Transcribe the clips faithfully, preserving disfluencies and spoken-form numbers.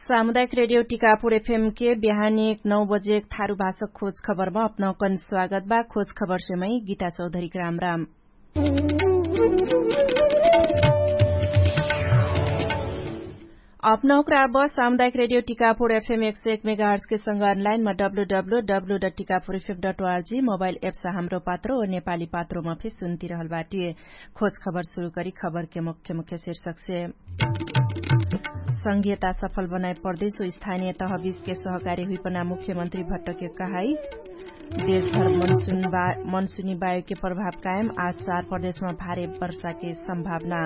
सामुदायिक रेडियो टिकापुर एफएम के बिहान एक नौ बजे एक थारु भाषक खोज खबरमा अपनौकन स्वागत बा। खोज खबर सेमै गीता चौधरी ग्राम राम। अपनौकरा बस सामुदायिक रेडियो टिकापुर एफएम एक सय एक मेगाहर्जके संग अनलाइनमा W W W dot Tikapur FM dot RG mobile apps हाम्रो पात्रो नेपाली पात्रोमा फिर सुन्तिरहल बाटिए। खोज खबर सुरु करी खबरके मुख्य मुख्य शीर्षकसे। संघीयता सफल बनाए प्रदेश ओ स्थानीय तहबिजके सहकारी हुइपना मुख्यमन्त्री भट्टके कहाई। देशभर मनसुनी बायोके प्रभाव कायम आज चार प्रदेशमा भारे वर्षाके सम्भावना।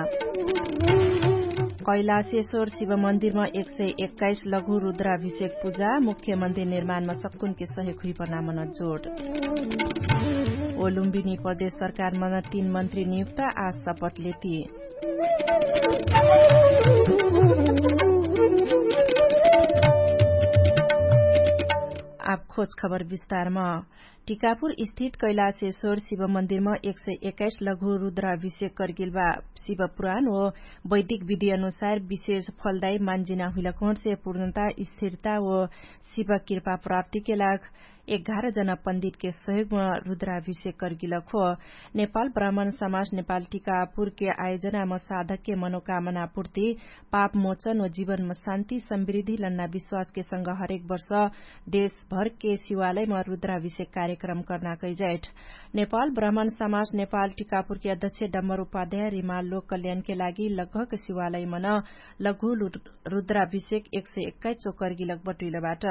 कैलाशेश्वर शिव मन्दिरमा एक सय एक्काइस लघु रुद्राभिषेक पुजा मुख्यमन्त्री निर्माणमा सक्कुनके सहयोग हुइपना मनजोट। ओलुम्बिनी प्रदेश सरकारमन तीन मन्त्री नियुक्त आज सपट लेती। आब खोज खबर विस्तारम। टिकापुर स्थित कैलाशेश्वर शिव मन्दिरम एक सय एक्काइस लघु रुद्राभिषेक करगेल बा। शिव पुराण ओ वैदिक विधि अनुसार विशेष फलदायी मान्जिना हुइलक होर्से पूर्णता स्थिरता ओ शिव कृपा प्राप्तिके लाग एघार जना पण्डितके सहयोगम रुद्राभिषेक करगेलक हो। नेपाल ब्राह्मण समाज नेपाल टिकापुरके आयोजनाम साधकके मनोकामना पुर्ति पाप मोचन ओ जीवनमा शान्ति समृद्धि लन्ना विश्वासके संग हरेक वर्ष देशभरके शिवालयमा रुद्राभिषेक कार्यक्रम कर्ना कैजैठ। नेपाल ब्राह्मण समाज नेपाल टिकापुरके अध्यक्ष डम्बर उपाध्याय रिमाल लोक कल्याणके लागि लगभग शिवालयमन लघु रुद्राभिषेक एक सय एक्काइस चोकर गिलक बटुइलबाट।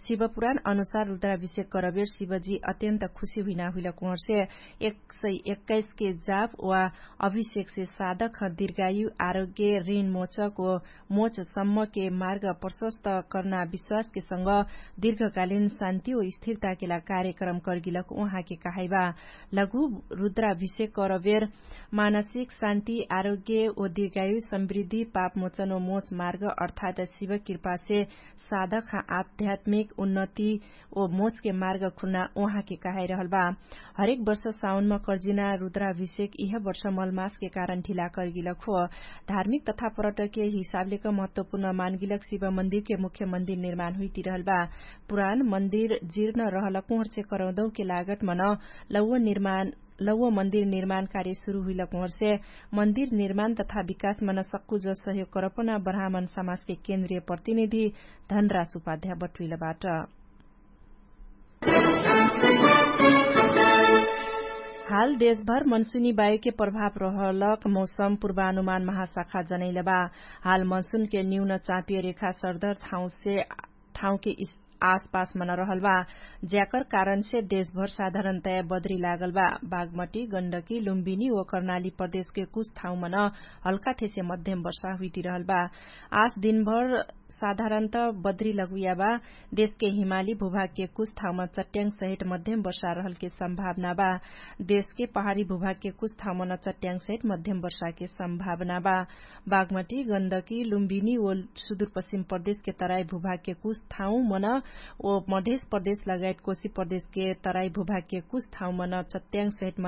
शिवपुराण अनुसार रुद्राभिषेक करबेर शिवजी अत्यन्त खुशी हुइना हुइलक उहर्षे एक सय एक्काइस के जाप वा अभिषेकसे साधक ह दीर्घायु आरोग्य ऋण मोचक ओ मोच सम्मके मार्ग प्रशस्त कर्ना विश्वासके संग दीर्घकालीन शान्ति ओ स्थिरताकेला कार्यक्रम करगिलक उहाँके कहाइबा। लघु रुद्राभिषेक करबेर मानसिक शान्ति आरोग्य ओ दीर्घायु समृद्धि पाप मोचन ओ मोच मार्ग अर्थात शिव कृपासे साधक ह आध्यात्मिक उन्नति ओ मोचके मार्ग खुन्ना उहाँके कहाइरहल बा। हरेक वर्ष साउनमा कर्जिना रुद्राभिषेक इह वर्ष मलमासके कारण ढिला करगिलक हो। धार्मिक तथा पर्यटकके हिसाबलेक महत्वपुर्ण मानगिलक शिव मन्दिरके मुख्य मन्दिर निर्माण हुइतिरहल बा। पुरान मन्दिर जिर्न रहलक उहर्चे करौदौके लागटमन लौव मन्दिर निर्माण कार्य सुरु हुइलक उहर्से मन्दिर निर्माण तथा विकासमन सक्कु जसहयोग करपन ब्राह्मण समाजके केन्द्रीय प्रतिनिधि धनराज उपाध्याय बटुइलबाट। हाल देशभर मनसुनी बायुके प्रभाव रहलक मौसम पुर्वानुमान महाशाखा जनैलबा। हाल मनसुनके न्यून चापिय रेखा सर्दर ठाउँके आसपासमन रहलबा। ज्याकर कारणसे देशभर साधारणतया बद्री लागलबा। बागमटी गण्डकी लुम्बिनी ओ कर्णाली प्रदेशके कुछ ठाउँमन हल्का ठेसे मध्यम वर्षा हुइतिरहलबा। आस दिनभर साधारणत बद्री लगुयाबा। देशके हिमाली भुभागके कुछ ठाउँमा चट्याङ सहित मध्यम वर्षा रहलके सम्भावना बा। देशके पहाडी भुभागके कुछ ठाउँमा न चट्याङ सहित मध्यम वर्षाके सम्भावना बा। बागमटी गन्दकी लुम्बिनी ओ सुदुरपश्चिम प्रदेशके तराई भुभागके कुछ ठाउँमा न ओ मधेश प्रदेश लगायत कोशी प्रदेशके तराई भुभागके कुछ ठाउँमा न चट्याङ सहित